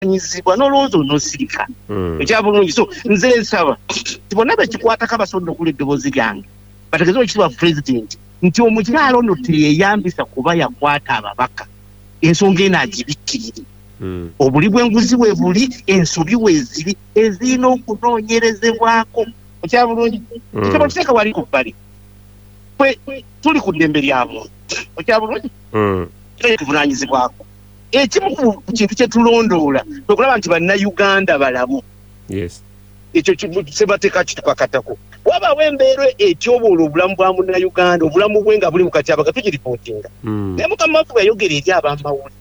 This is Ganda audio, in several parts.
Nyizibwa n'olowooza onoosirika. Ekya bulungi. So nze nsaba ti bonna bekikwatako abasobodde okuwulira eddoboozi lyange bategeeze Oweekitiibwa Pulezidenti nti omukyala ono teyeyambisa kuba yakwata ababaka, ensonga eno agibikkirire. Obuli bw'enguzi webuli, ensobi weziri ezirina okunoonyerezebwako. Ekya bulungi, ekyo bwekiteeka wali ku bbali, ffe tuli ku ddembe lya muntu. Ekya bulungi, tuvunaanyizibwako. Ekimu ku kintu kye tulondoola kwe kulaba nti Bannayuganda balamu. Ekyo ssemateeka kitukakatako. Wabaawo embeera etyoboola obulamu bwa Munnayuganda, obulamu bwe nga buli mu katyabaga, tugiripootinga. Naye mukama waffe bwe yayogera eri ab'amawulire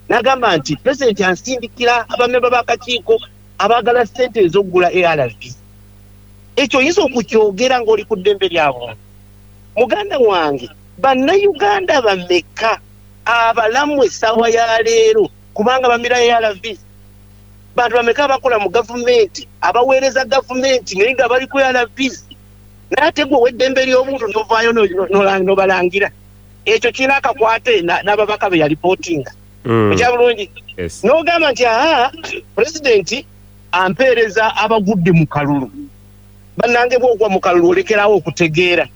n'agamba nti Pulezidenti ansindikira abamemba b'akakiiko abaagala ssente ez'okugula ARV. Ekyo oyinza okukyogera ng'oli ku ddembe lya buntu. Muganda wange, Bannayuganda bameka abalamu essaawa ya leero kubanga bamira ARVs? Bantu bameka abakola mu gavumenti abaweereza gavumenti naye nga bali ku ARVs? Naye ate gwe ow'eddembe ly'obuntu n'ovaayo n'obalangira. Ekyo kirina akakwate n'ababaka be yalipootinga. Ekya bulungi. N'ogamba nti aa, Pulezidenti ampeereza abagudde mu kalulu. Bannange, bw'ogwa mu kalulu olekerawo okutegeera.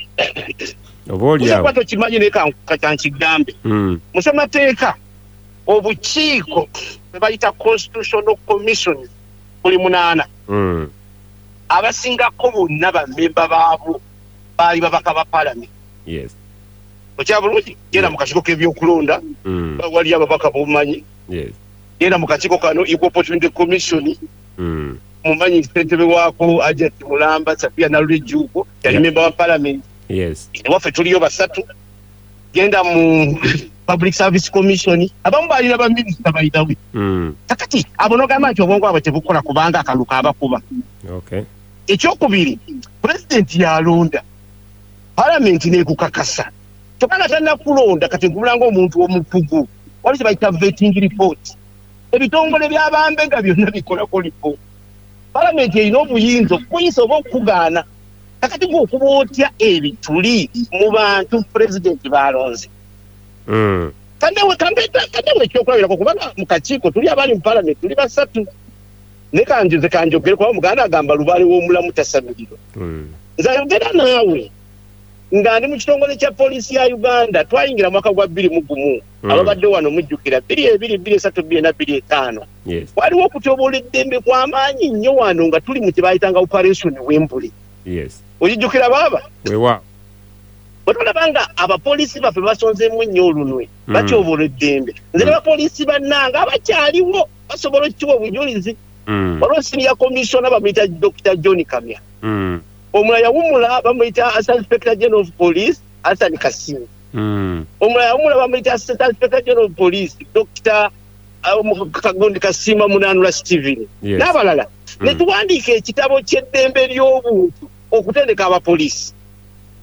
Oba oli Oyinza awo. Kuba tokimanyi naye kankigambe. Mu ssemateeka obukiiko bwe bayita Constitutional Commissions buli munaana. Abasingako bonna bammemba baabwo baali babaka ba Palamenti. Okya bulungi? Genda mu kakiiko k'ebyokulonda, waliyo ababaka b'omanyi. Genda mu kakiiko kano Equal Opportunity Commission, mumanyi ssentebe waako Hajati Mulamba Safia Nalule Jjuuko yali memba wa Palamenti. Ewaffe tuliyo basatu. Genda mu Public Service Commission, abamu baalina baminisita bayinawe. Kakati abo n'ogamba nti obwongo bwabwe tebukola kubanga akalulu kaabakuba. Ekyokubiri, Pulezidenti yalonda, Palamenti n'ekukakasa. Kyokka nga tannakulonda, kati nkubula ng'omuntu omukugu, waliwo kye bayita vetting report. Ebitongole bya bambega byonna bikolako lipooti. Palamenti erina obuyinza okukuyisa oba okukugaana. Kakati gwe okuba otya ebituli mu bantu Pulezidenti b'alonze? Kandewo ekyokulabirako kubanga mu kakiiko tuli abali mu Palamenti tuli basatu. Naye kanjoze kanjogere kuba Omuganda agamba lubaale w'omulamu tasamirirwa. Nze ayogera naawe nga ndi mu kitongole kya poliisi ya Uganda, twayingira mu mwaka gwa 2001. Ababadde wano mujjukira 2002, 2003, 2004, 2005. Waliwo okutyoboola eddembe kwa maanyi nnyo wano nga tuli mu kye baayitanga Operation Wembley. Okijjukira baaba? Weewaawo. Bwe tulaba nga abapoliisi baffe basonzeemu nnyo olunwe, batyoboola eddembe. Nze ne bapoliisi bannange abakyaliwo basobola okukiwa obujulizi. Waliwo senior commissioner bamuyita Dokita John Kamya. Omulala yawummula bamuyita Assistant Inspector General of Police Hassan Kassim. Omulala yawummula bamuyita Assistant Inspector General of Police Dokita Kagundi Kasiima Munanura Stephen n'abalala. Ne tuwandiika ekitabo ky'eddembe ly'obuntu okutendeka abapoliisi.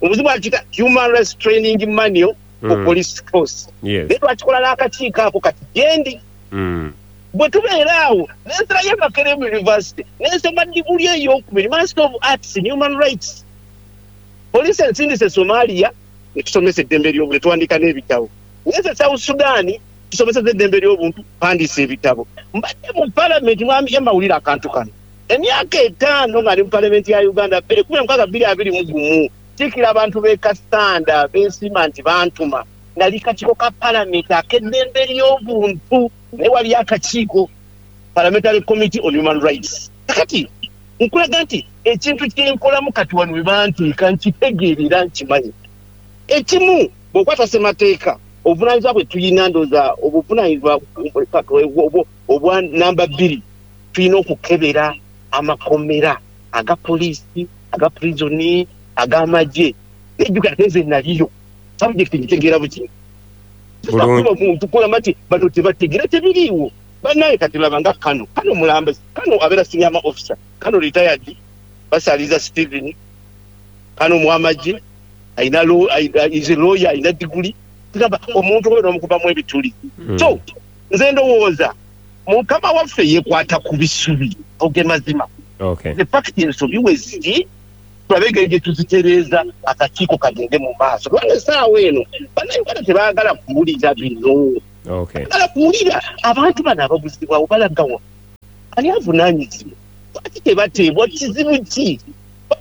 Omuzimu akiyita Human Rights Training Manual for Police Force. Naye twakikola n'akakiiko ako kati gyendi. Bwe tubeera awo ne nzirayo e Makerere University ne nsoma diguli ey'okubiri, Master of Arts in Human Rights. Poliisi ensindise e Somalia ne tusomesa eddembe ly'obuntu ne tuwandiika n'ebitabo. Ngenze e South Sudan tusomeseza eddembe ly'obuntu, mpandiise ebitabo. Mbadde mu Palamenti, Mwami Emma wulira akantu kano. Emyaka etaano nga ndi mu Palamenti ya Uganda, 2016 2021, nkiikira abantu b'e Kassanda bensiima nti bantuma. Nali kakiiko ka Palamenti ak'eddembe ly'obuntu naye waliyo akakiiko Parliamentary Committee on Human Rights. Kakati nkulaga nti ekintu kye nkolamu kati wano we banteeka nkitegeera era nkimanyi. Ekimu bw'okwata ssemateeka obuvunaanyizibwa bwe tulina ndowooza obuvunaanyizibwa obwa namba bbiri tulina okukebera amakomera aga poliisi, aga purizoni, ag'amagye. Naye jjukira ate nze naliyo subject ngitegeera buki. Kuba muntu kulamba nti bano tebategeera tebiriiwo. Bannange kati laba nga Kano, Kano mulamba, Kano abeera senior officer, Kano retired, Basaliza Stephen, Kano mwamagye, alina law, is a lawyer, alina diguli. Tugamba omuntu oyo n'omukubamu ebituli. So nze ndowooza mukama waffe yekwata ku bisubi oge mazima. The fact ensobi we ziri tulabe engeri gye tuzitereeza akakiiko kagende mu maaso kubanga essaawa eno Bannayuganda tebaagala kuwulira bino. Baagala kuwulira abantu bano ababuzibwawo balagawa. Ani avunaanyizibwa? Lwaki tebateebwa? Kizibu ki?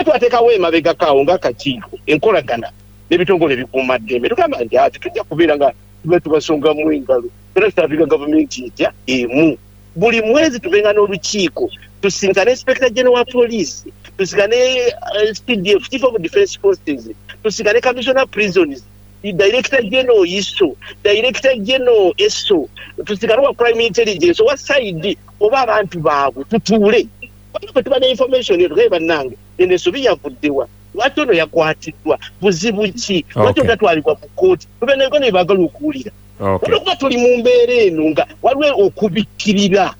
Twateekawo emabegako ng'akakiiko enkolagana n'ebitongole ebikuumaddembe. Tugamba nti ati tujja kubeera nga tuba tubasongamu engalo, era tutafika gavumenti etya emu. Buli mwezi tubenga n'olukiiko, tusinkane Inspector General wa Police, tusinkane CDF, Chief of Defence Forces, tusinkane Commissioner Prisons, Director General ISO, Director General ESO, tusinkane wa Crime Intelligence, owa CID, oba abantu baabwe, tutuule. Bwe tuba ne information eyo, tugabe bannange, eno ensobi yavuddewa, lwaki ono yakwatiddwa, buzibu ki, lwaki otatwalibwa mu kkooti, tube n'ebyo ne baagala okuwulira. Olwokuba tuli mu mbeera eno nga waliwo okubikkirira,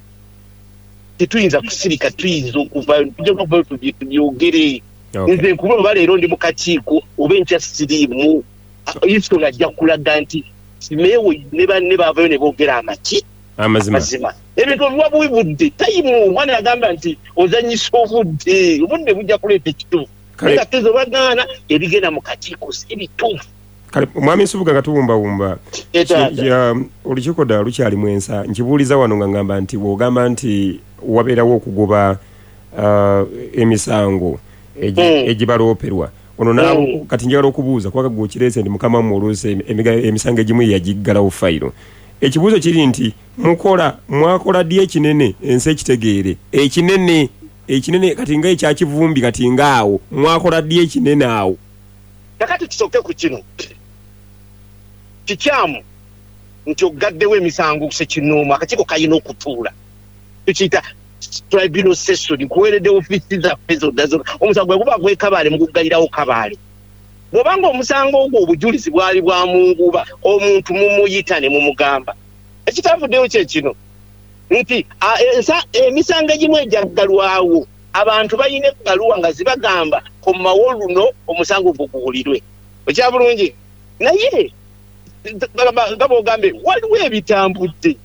tetuyinza kusirika, tuyinza okuvaayo, tujja kuvaayo tubyogere. Nze nkuba oba leero ndi mu kakiiko oba enkya siriimu, ISO ajja kulaga nti Simeewo ne banne baavayo ne boogera amaki amazima. Ebintu obiwa buwi budde, tayimu. Omwana yagamba nti ozannyisa obudde, obudde bujja kuleeta ekituufu. Naye nga kkiriza obagaana, ebigenda mu kakiiko si bituufu. Kale Mwami Nsubuga nga tuwumbawumba, olukiiko ddala lukyalimu ensa. Nkibuuliza wano nga ngamba nti bw'ogamba nti wabeerawo okugoba emisango egibalooperwa ono, kati njagala okubuuza kubanga gwe okireese nti mukama wammwe oluusi emisango egimu yagiggalawo fayiro. Ekibuuzo kiri nti mukola mwakola ddi ekinene ensi ekitegeere ekinene ekinene kati nga ekya Kivumbi kati nga awo mwakola ddi ekinene awo? Kakati tusooke ku kino. Kikyamu nti oggaddewo emisango ssekinnoomu, akakiiko kalina okutuula. Tukiyita tribunal session. Nkuweeredde ofiisi zaffe zonna zonna. Omusango bwe guba gw'e Kabale muguggalirawo Kabale. Bw'oba ng'omusango ogwo obujulizi bwali bwa mu nguba, omuntu mumuyita ne mumugamba. Ekitavuddeyo kye kino nti emisango egimu egyaggalwawo, abantu balina ebbaluwa nga zibagamba komawo luno omusango gwo guwulirwe. Okya bulungi? Naye nga bw'ogambye waliwo ebitambudde.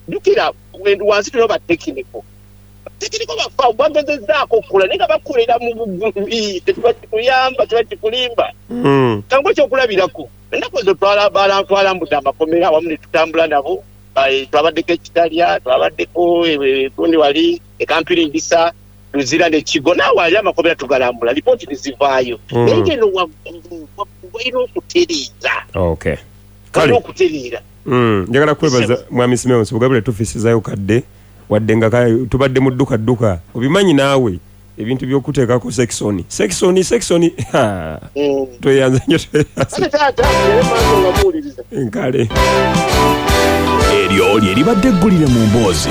Jjukira wansi tulina ba tekiniko. Tekiniko baffe bagezezzaako okukola naye nga bakolera mu bugumi, tekiba kikuyamba, kiba kikulimba. Kankuwe ekyokulabirako, ennaku ezo twalambudde amakomera awamu ne tutambula nabo, twabaddeko e Kitalya, twabaddeko gundi wali e Kampiringisa, Luzira ne Kigo, naawe ali amakomera tugalambula, lipooti ne zivaayo. Naye ng'eno waggulu, waggulu balina okutereeza. Balina okutereera. Njagala kwebaza Mwami Simeon Nsubuga bule tufisizayo kadde wadde nga tubadde mu dduka dduka, obimanyi naawe ebintu by'okuteekako sekisoni sekisoni sekisoni. Tweyanza nnyo, tweyanza. Nkale eryo lye libadde eggulire mu mboozi.